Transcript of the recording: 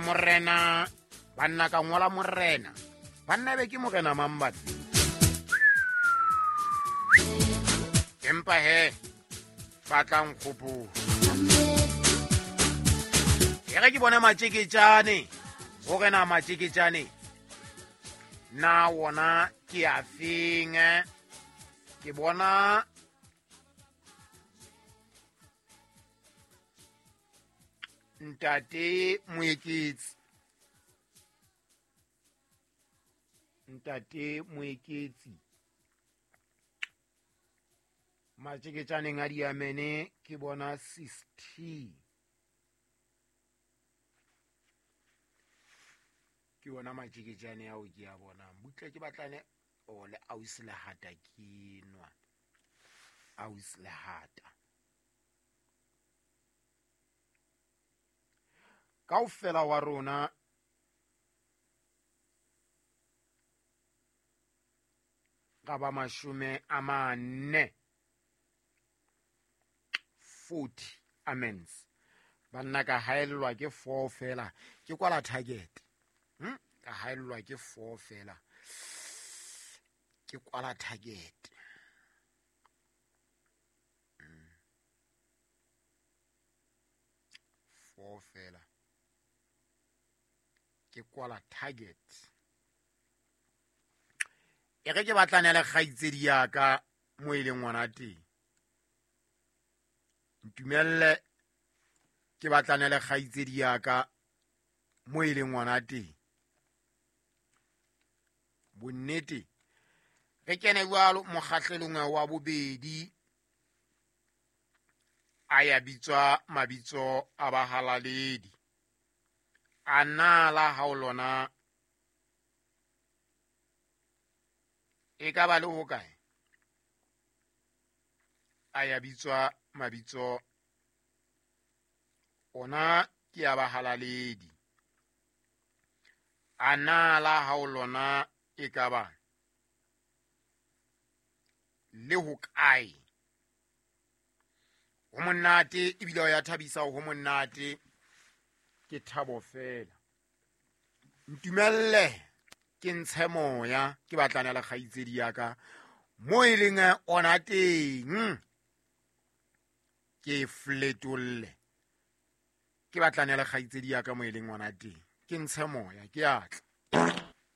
Morena banna ka ngola morena banna be ke morena mang batho empa he ba tla nkgopola e ge ke bone matšeketšane gore na matšeketšane na wona ke a feng ke bona ntate moeketsi ntate moeketsi matšeketšaneng a diamene ke bona 60 ke bona matšeketšane ao ke a bonang butle ke batlane o le ausi lehata ke nwa ausi lehata kaofela wa rona ga ba 40 40 amens banna ka haellwa ke 4 fela ke kwala target ka haellwa ke 4 fela ke kwala target 4 fela ke kwala target e ge ke batlane le kgaitsedi yaka mo e leng ngwana teng ntumelle ke batlane le kgaitsedi yaka mo e leng ngwana teng bonnete re kene jwalo mokgahlelong wa bobedi a ya bitswa mabitso a bahalaledi a na la hao lona e ka ba le ho kae a ya bitswa mabitso ona ke ya bahalaledi a na la hao lona e ka ba le ho kae ho monate ebile o ya thabisa ho monate ke thabo fela ntumelle ke ntshe moya ke batlana le kgaitsedi ya ka mo e leng ona teng ke fletolle ke batlane le kgaitsedi ya ka mo e leng ona teng ke ntshe moya ke atla.